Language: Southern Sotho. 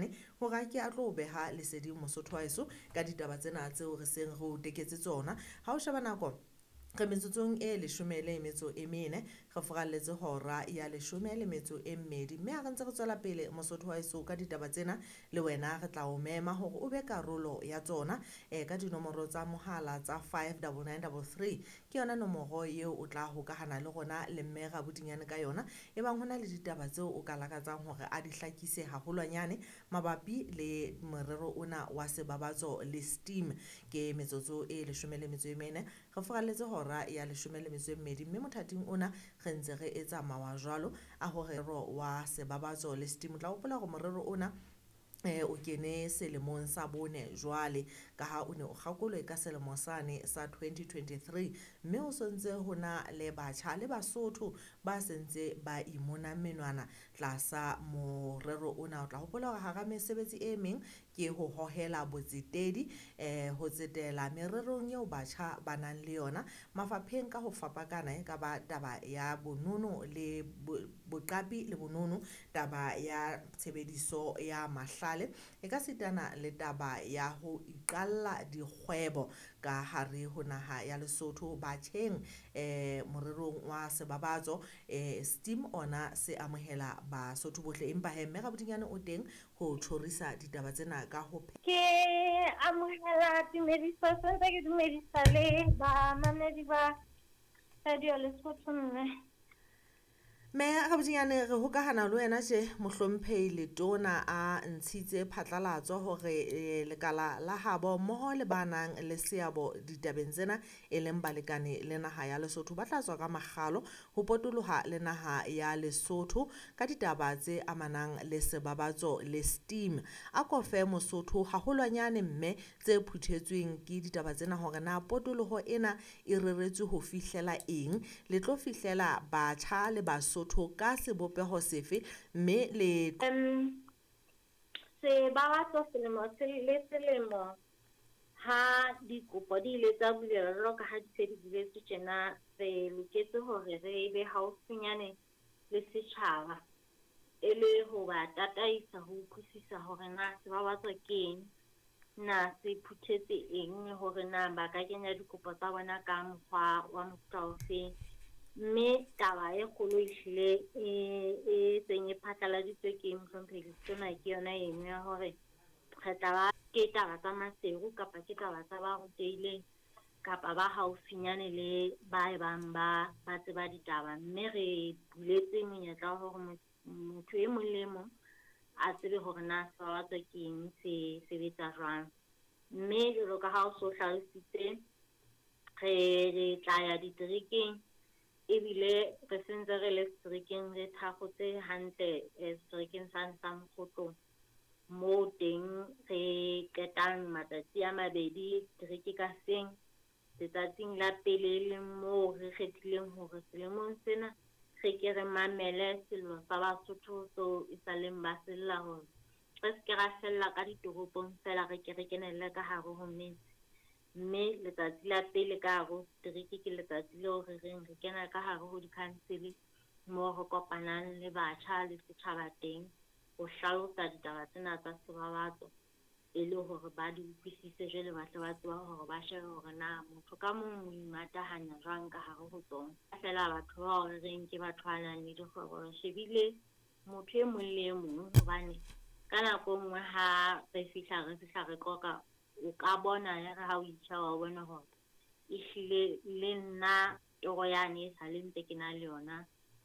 Rabodinyane hore a ke a tlo beha leseding Mosotho wa heso ka ditaba tsena tseo re seng re o teketse tsona. Ha o sheba nako re metsotsong e 14 re furalletse hora ya 12, mme ha re ntse re tswela pele Mosotho wa heso ka ditaba tsena, le wena re tla o mema hore o be karolo ya tsona ka dinomoro tsa mohala tsa 59933. Ke yona nomoro eo o tla hokahana le rona le mme Rabodinyane ka yona, ebang hona le ditaba tseo o ka lakatsang hore a di hlakise haholwanyane mabapi le morero ona wa Sebabatso le STEAM. Ke metsotso e 14 re furalletse hora ya 12, mme mothating ona re ntse re etsa mawa jwalo a hore wa Sebabatso le STEAM. O tla hopola hore morero ona o kene selemong sa bone jwale, ka ha o ne o kgakolwe ka selemo sane sa 2023, mme ho sontse ho na le batjha le Basotho ba sentse ba imona menwana tlasa morero ona. O tla hopola hore hara mesebetsi e meng ke ho hohela botsetedi, ho tsetela mererong eo batjha ba nang le yona mafapheng ka ho fapakana, e ka ba taba ya bonono le boqapi le bonono, taba ya tshebediso ya mahlale, e ka sitana le taba ya ho iqalla dikgwebo ka hare ho naha ya Lesotho batjheng. Morerong wa Sebabatso STEAM ona se amohela Basotho bohle, empa he mme Rabodinyane o teng ho tjhorisa ditaba tsena ka ho Ke amohela tumediso, sentse ke dumedisa le bamamedi ba Radio Lesotho mme. Mme Rabodinyane, re hokahana le wena tje mohlomphehi Letona a ntshitse phatlalatso hore lekala la habo mmoho le ba nang le seabo ditabeng tsena e leng balekane le naha ya Lesotho ba tla tswa ka makgalo ho potoloha le naha ya Lesotho ka ditaba tse amanang le Sebabatso le STEAM. A ko fe Mosotho haholwanyane mme tse phuthetsweng ke ditaba tsena hore na potoloho ena e reretswe ho fihlela eng, le tlo fihlela batjha le Basotho ka sebopeho sefe, mme le Sebabatso selemo le selemo ha dikopo di ile tsa bulelwa jwalo ka ha di se di buletswe tjena, re loketse hore re be haufinyane le setjhaba e le ho ba tataisa ho utlwisisa hore na Sebabatso ke eng, na se phuthetse eng, le hore na ba ka kenya dikopo tsa bona ka mokgwa wa mofuta ofeng. Mme taba e kgolo ehlile e seng e phatlaladitswe ke mohlomphehi Letona ke yona eno ya hore re tla ba ke taba tsa Maseru kapa ke taba tsa ba rutehileng kapa ba haufinyane le ba e bang ba tseba ditaba. Mme re buletse monyetla wa hore motho e mong le e mong a tsebe hore na Sebabatso ke eng, se sebetsa jwang. Mme jwalo ka ha o so hlalositse, re tla ya diterekeng, ebile re sentse re le seterekeng, re thakgotse hantle seterekeng sane sa Mokgotlong, moo teng re qetang matsatsi a mabedi setereke ka seng. Letsatsing la pele leng moo re kgethileng hore selemong sena re ke re mamele sello sa Basotho seo e sa leng ba sella hore re se ke ra fella ka ditoropong feela, re ke re kenelle ka hare ho metse. Mme letsatsi la pele ka hare ho setereke ke letsatsi leo re reng re kena ka hare ho di-council moo re kopanang le batjha le setjhaba teng ho hlalosa ditaba tsena tsa Sebabatso e le hore ba di utlwisise, jwale ba tle ba tseba hore ba shebe hore na motho ka mong o imatahanya jwang ka hare ho tsona. Feela batho bao re reng ke batho ba nang le dikgwebo, re shebile motho e mong le e mong, hobane ka nako e nngwe ha re fihla re qoqa, o ka bona ya re ha o itjheba wa bona hore ehlile le nna toro yane e sale ntse ke na le yona.